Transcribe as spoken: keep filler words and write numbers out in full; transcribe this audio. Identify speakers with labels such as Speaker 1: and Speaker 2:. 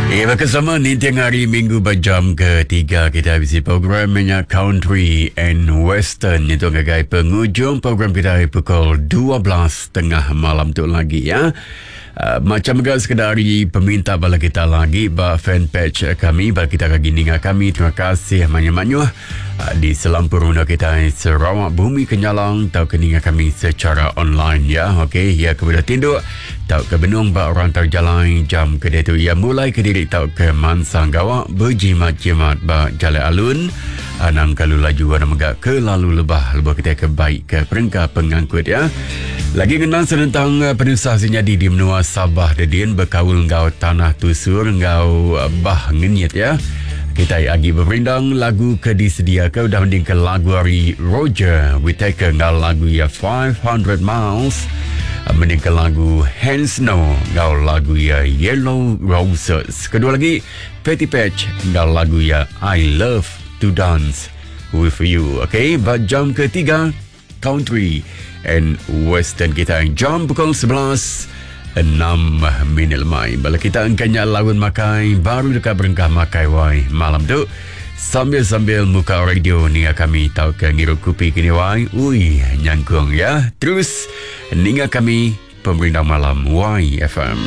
Speaker 1: Ya, bersama ninting hari Minggu berjam ketiga kita bisi program nya Country and Western itu ngagai penghujung program kita pukul dua belas tengah malam tu lagi ya. Uh, macam juga sekedar hari peminta bala kita lagi ba fanpage kami, bala kita lagi ninga kami. Terima kasih banyak-banyak uh, di selampur menua kita Sarawak Bumi Kenyalang tau ke ninga kami secara online ya. Okey, ya kepada tinduk tau ke benung ba orang terjalai jam ke dia tu ya mulai ke diri tau ke mansang gawak berjimat-jimat ba jalan alun anang kalu laju anang megak ke lalu lebah lebah kita ke baik ke perengka pengangkut ya. Lagi kenang senentang penusah senyadi di menua Sabah dedin berkaul ngau tanah tusur ngau bah ngenyit ya. Kita lagi berperindang lagu ke disediakan udah mending ke lagu hari Roger Whittaker ngau lagu ya five hundred Miles, mending ke lagu Hands Snow ngau lagu ya Yellow Roses. Kedua lagi Patty Patch ngau lagu ya I Love to Dance with You. Okay, jam ketiga Country and Western kita jam pukul sebelas enam minit lemai. Bala kita engkanya lawan makai baru dekat berengkah makai wai malam tu sambil-sambil muka radio ninga kami tau ke ngirup kopi kini wai. Ui nyangkung ya. Terus ninga kami pemerintah malam Y F M.